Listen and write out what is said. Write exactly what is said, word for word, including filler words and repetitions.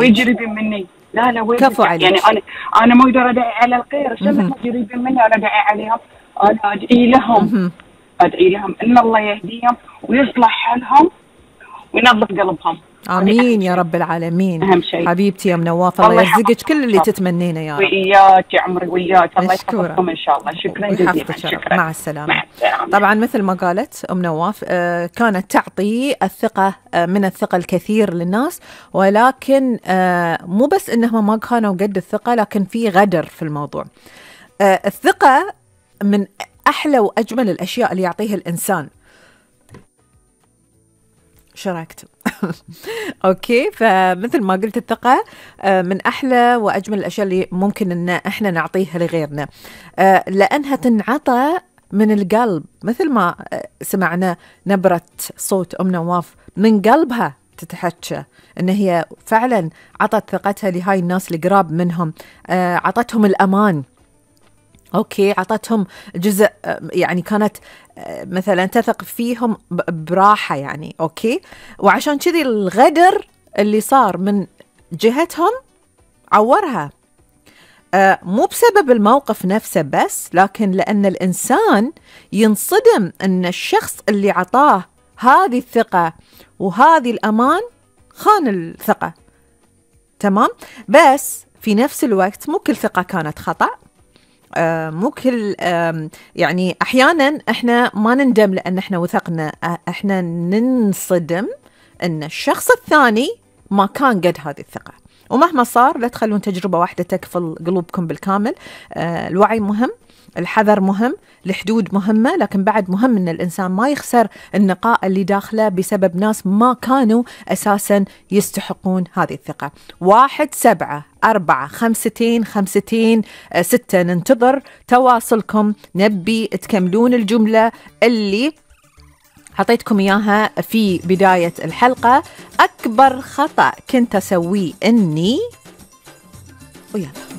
عليك. قريبين مني. لا لا كفو عليك. يعني انا انا ما اقدر ادعي على الخير، عشان قريبين مني انا ادعي عليهم، انا ادعي لهم ادعي لهم ان الله يهديهم ويصلح حالهم وينظف قلبهم. امين يا رب العالمين. اهم شيء حبيبتي يا ام نواف، الله يرزقك كل اللي تتمنينه يا رب. وياك يا عمري وياك، الله يحفظكم ان شاء الله. شكرا جزيلا. شكرا. مع السلامه. مع السلامه. طبعا مثل ما قالت ام نواف آه كانت تعطي الثقه آه من الثقه الكثير للناس، ولكن آه مو بس انهم ما كانوا قد الثقه، لكن في غدر في الموضوع. آه الثقه من احلى واجمل الاشياء اللي يعطيها الانسان. شاركت اوكي. فمثل ما قلت الثقة من احلى واجمل الاشياء اللي ممكن ان احنا نعطيها لغيرنا، لانها تنعطى من القلب. مثل ما سمعنا نبرة صوت ام نواف من قلبها تتحكى ان هي فعلا عطت ثقتها لهاي الناس القراب منهم، عطتهم الامان. أوكي، عطتهم جزء، يعني كانت مثلا تثق فيهم براحة يعني. أوكي، وعشان كذي الغدر اللي صار من جهتهم عورها، آه مو بسبب الموقف نفسه بس، لكن لأن الإنسان ينصدم أن الشخص اللي عطاه هذه الثقة وهذه الأمان خان الثقة. تمام، بس في نفس الوقت مو كل ثقة كانت خطأ. آه مو كل آه يعني أحيانا إحنا ما نندم لأن إحنا وثقنا، آه إحنا ننصدم أن الشخص الثاني ما كان قد هذه الثقة. ومهما صار لا تخلون تجربة واحدة تكفل قلوبكم بالكامل. آه الوعي مهم، الحذر مهم، الحدود مهمة، لكن بعد مهم أن الإنسان ما يخسر النقاء اللي داخله بسبب ناس ما كانوا أساسا يستحقون هذه الثقة. واحد سبعة أربعة خمستين خمستين ستة ننتظر تواصلكم، نبي تكملون الجملة اللي حطيتكم إياها في بداية الحلقة. أكبر خطأ كنت أسويه إني ويلا